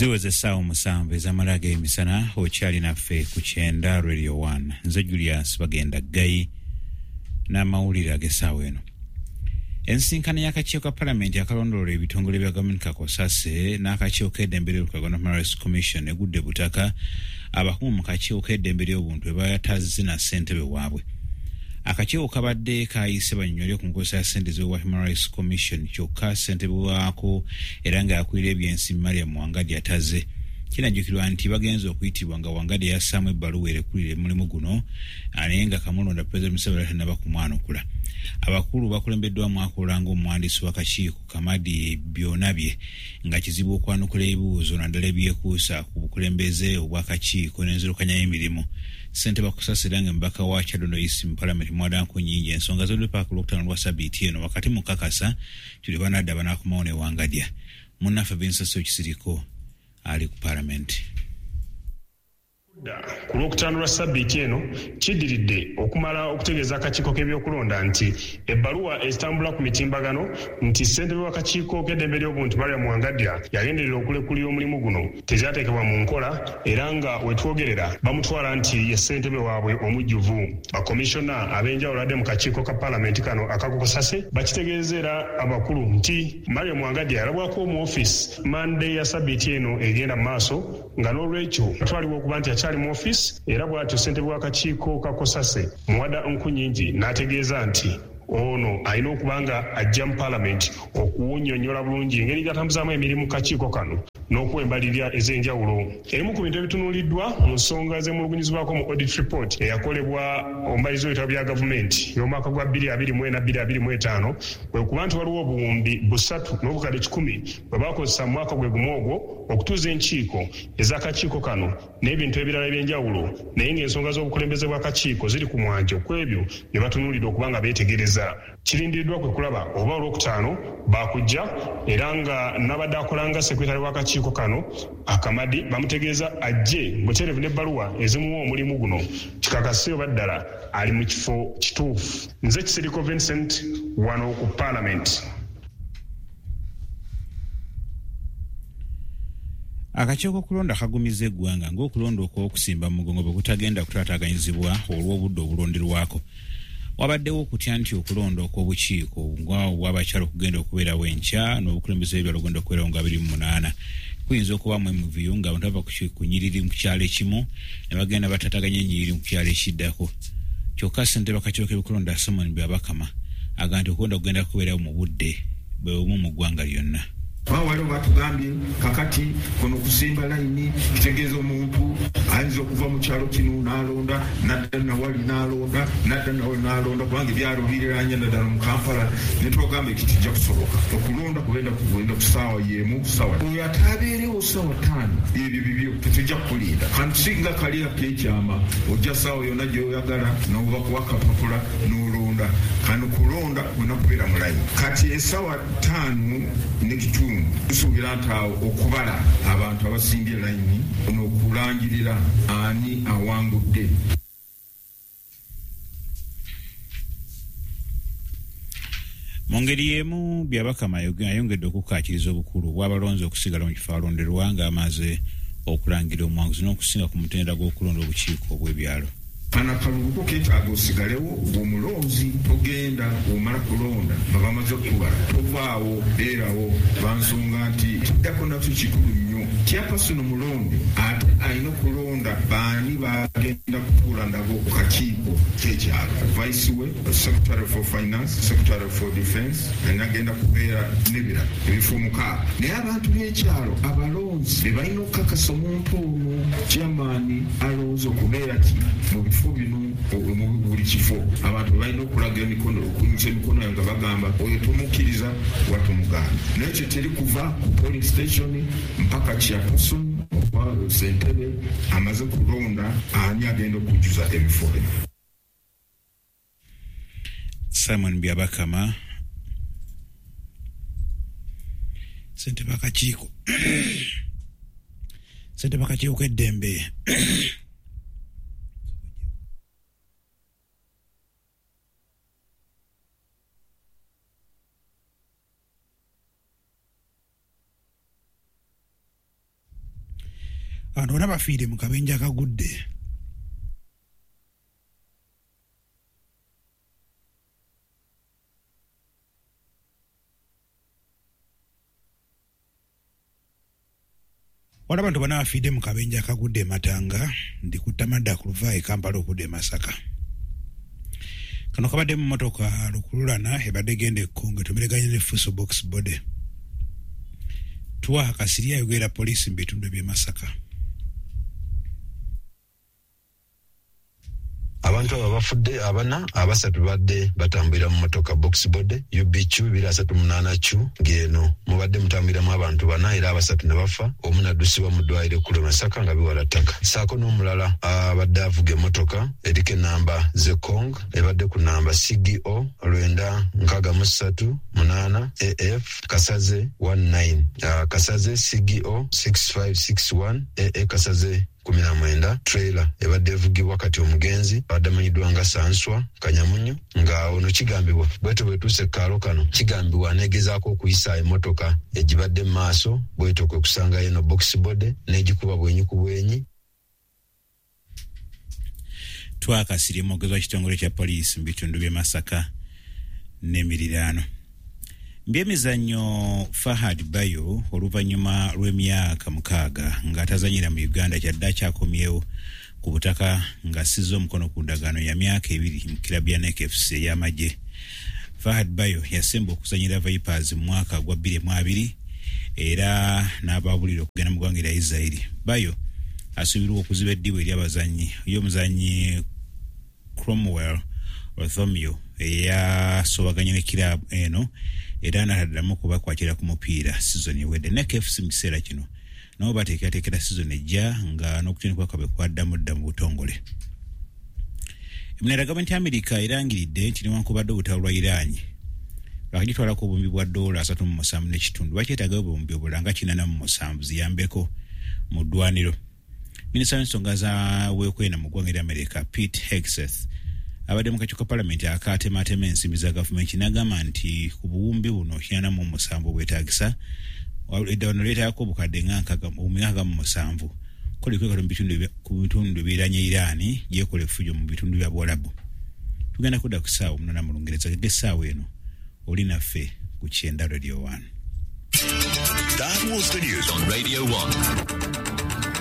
Ziweze essaawa 7 ez'amala ag'emisana, okyali naffe ku Kyenda Radio 1. Nze Julius Bagenda Ggayi n'amawulire ag'essaawa eno. Ensisinkano y'akakiiko ka Palamenti akalondoola ebitongole bya gavumenti Kakosase n'akakiiko k'eddembe ly'obuntu Human Rights Commission egudde butaka, abakungu mu kakiiko k'eddembe ly'obuntu bwe batazze na ssentebe waabwe. Akakiiko kabadde kayise bannyonnyole ku nkozesa ya ssente z'owa Human Rights Commission, kyokka ssentebe waako era ng'akulira ebyensimbi Mariam Wangadya atazze. Kinajjukirwa nti bagenze okuyitibwa nga Wangadya yassaamu ebbaluwa erekulira omulimu guno, naye nga kamulonda Pulezidenti Museveni tannaba kumwanukula. Abakulu bakulembeddwamu akola ng'omuwandiisi w'akakiiko Kamadi Byonabye, nga kizibu okwanukula ebibuuzo naddala ebyekuusa ku bukulembeze obw'akakiiko n'enzirukanya y'emirimu. Ssentebe Kusasira nga mubaka wa Kyadondo East mu Palamenti Muwada Nkunyingi, ensonga zodde paaka Olwokutaano lwa sabbiiti eno wakati mu kakasa tuli banadda banaakomawo ne Wangadya. Munnaffe Vincent Kisiriko ali ku Palamenti. Ku Lwokutaano lwa sabbiiti eno kiddiridde okumala okutegeeza akakiiko k'ebyokulonda nti ebbaluwa ezitambula ku mitimbagano nti ssentebe w'akakiiko k'eddembe ly'obuntu Mariam Wangadya yagenderera okulekulira omulimu guno tezyateekebwa mu nkola, era nga we twogerera bamutwala nti ye ssentebe waabwe omujjuvu. Bakomishona ab'enjawulo adde mu kakiiko ka Palamenti kano akakokosase bakitegeeza era abakulu nti Mariam Wangadya yalabwako mu ofiisi Mande ya sabbiiti eno egenda mu maaso, nga n'olwekyo atwalibwa okuba nti akyali mu ofiisi, era bw'atyo ssentebe w'akakiiko ka Kosase Muwada Nkunyingi n'ategeeza nti ono alina okuba nga ajja mu Palamenti okuwunnyonnyola bulungi engeri gy'atambuzaamu emirimu kakiiko kano n'okuwa embalirira ez'enjawulo. Ebimu ku bintu ebitunuuliddwa mu nsonga ezemulugunyizibwako mu audit report eyakolebwa omubalirizi w'ebitabo bya gavumenti y'omwaka gwa 2024 2025 kwe kuba nti waliwo obuwumbi 3 n'obukadde 100 bwe bakozesa mu mwaka gwe gumu ogwo okutuuza enkiiko ez'akakiiko kano n'ebintu ebirala eby'enjawulo, naye ng'ensonga z'obukulembeze bw'akakiiko ziri ku mwanjo ku ebyo bye batunuulidde okuba nga beetegereza. Kirindiriddwa kwe kulaba oba Olwokutaano baakujja, era nga n'abadde akola nga sekuritale w'akakiiko kano Akamadi bamutegeeza ajje butereevu n'ebbaluwa ezimuwa omulimu guno kikakase oba ddala ali mu kifo kituufu. Nze Kisiriko Vincent wano ku Paalamenti. Akakiiko k'okulonda kagumiza eggwanga ng'okulonda okw'okusimba mu mugongo bwe kutagenda kutaataaganyizibwa olw'obudde obulonderwako. Wabaddewo okutya nti okulonda okw'obukiiko nga obw'abakyala okugenda okubeerawo enkya n'obukulembeze bw'ebyalo ogenda okubeerawo nga 28 kuyinza okubaamu emivuyo, ng'abantu bava ku nyiriri mu kyalo ekimu ne bagenda bataataganya ennyiriri mu kyalo ekiddako. Kyokka ssentebe w'akakiiko k'ebyokulonda Simon Byabakama agamba nti okulonda kugenda kubeerawo mu budde bwe bumu mu ggwanga lyonna. Kuba waliwo batugambye kakati kuno kusimba layini kitegeeza omuntu ayinza okuva mu kyalo kino n'alonda, nadda nawali n'alonda, nadda nawali n'alonda, kubanga ebyalo biriranye, naddala mu Kampala. Ne tubagamba ekyo kijja kusoboka. Okulonda kugenda kugenda ku ssaawa y'emu ssaawa. Oyo ataabeerewo ssaawa 5, ebyo bibyo, tetujja kukulinda. Kantu singa kali akekyama, ojja ssaawa yonna gy'oyagala n'obakuwa akapapula n'olonda. Kano kulonda olina kubeera mu layini. Kati essaawa 5:15 tusuubira nti awo okubala abantu abasimbye layini n'okulangirira ani awangudde. Mu ngeri y'emu, Byabakama ayongedde okukkaatiriza obukulu bw'abalonzi okusigala mu kifo alonderwa ng'amaze okulangira omuwanguzi, n'okusinga ku mutendera gw'okulonda obukiiko obw'ebyalo. Kano akalulu ko keetaaga osigalewo ng'omulonzi, togenda. Omala kulonda nga bamaze okukubala, tovaawo, beerawo, lwansonga nti kiddako nakyo kikulu nnyo. Chairperson omulonde ate alina okulonda baani bagenda kutuula nabo ku kakiiko k'ekyalo: vice we, secretary for finance, secretary for defense, anagenda kubeera n'ebirala, ebifo 6. Naye abantu b'ekyalo abalonzi be balina okukakasa omuntu ono chairman alowooza okubeera ki mu bifo bino. Mu buli kifo abantu balina okulaga emikono, okuyimusa emikono nga bagamba oyo tumukkiriza wa tumugaana. Naye kyo teri kuva ku polling station mpaka chairperson oba sentebe amaze kulonda ani agenda okujjuza ebifo bino. Simon Byabakama, ssentebe akakiiko k'eddembe. Abantu bonna bafiire mu kabenje akagudde. Waliwo abantu bana bafiidde mu kabenje akagudde e Matanga, ndi kuttamadda ku luva e Kampala okudda e Masaka. Kano kabadde mu mmotoka lukululana ebadde egenda e Kkonge etomereganye ne Fuso Box Body. Twaha Kasirye ayogerera poliisi mu bitundu by'e Masaka. Abantu abo abafudde abana, abasatu badde batambulira mu motoka box body UBQ 238Q, ng'eno mubadde mutambuliramu abantu bana era abasatu ne bafa, omu n'addusibwa mu ddwaliro ekkulu e Masaka nga biwala ttaka, ssaako n'omulala abadde avuga emmotoka eriko ennamba Zekong ebadde ku nnamba CGO 963 8 AF Kasaze 19, Kasaze CGO 6561 AA Kasaze 19, trailer ebadde evugibwa kati omugenzi abadde amanyiddwa nga Sanswa Kanyamunyu, nga ono kigambibwa bwetyo bwetuuse kaalo kano kigambibwa aneegezaako okuyisa emmotoka egibadde mu maaso, bwetyo kwe kusangayo eno box body n'egikuba bwenyi ku bwenyi. Twakasirye mwogezi wa kitongole kya poliisi mu bitundu by'e Masaka n'emiriraano. Mbyemizannyo, Fahad Bayo oluvannyuma lw'emyaka 6 ng'atazanyira mu Uganda kyadde akyakomyewo ku butaka ng'assizza omukono ku ndagaano ya myaka 2 mu kirabu ya NEC FC ey'amagye. Fahad Bayo yasemba okuzanyira Vipers mu mwaka gwa 2020 era n'abaabulira okugenda mu ggwanga erya Israeli. Bayo asuubirwa okuziba eddibu eri abazannyi y'omuzannyi Cromwell Rwothomio eyasobaganye ne kiraabu eno era n'ataddamu okubakwatira ku mupiira sizoni ewedde. NEC FC mu kiseera kino nabo bateekerateekera sizoni ejja nga n'okutendekebwa kwabwe kwaddamu dda mu butongole. Emunera, gavumenti ya Amerika erangiridde nti newankubadde olutalo lwa Iran lwakagitwalako obuwumbi bwa ddoola 37.5, bakyetagayo obuwumbi obulala nga 87 ziyambeko mu ddwaniro. Minisita w'ensonga za weekwena mu ggwanga erya Amerika, Pete Hegseth, abadde mu kakiiko ka palamenti akatematema ensimbi za gavumenti n'agamba nti ku buwumbi buno 87 obwetaagisa, eddawano lyetaagako obukadde nga 67 kola ekwekalo ku bitundu ebiriraanye Iran gyekola effujjo mu bitundu bya Buwalabu. Tugenda kudda ku ssaawa 8 mu Lungereza. Gege essaawa eno oli naffe ku Kyenda Radio 1. That was the news on Radio 1.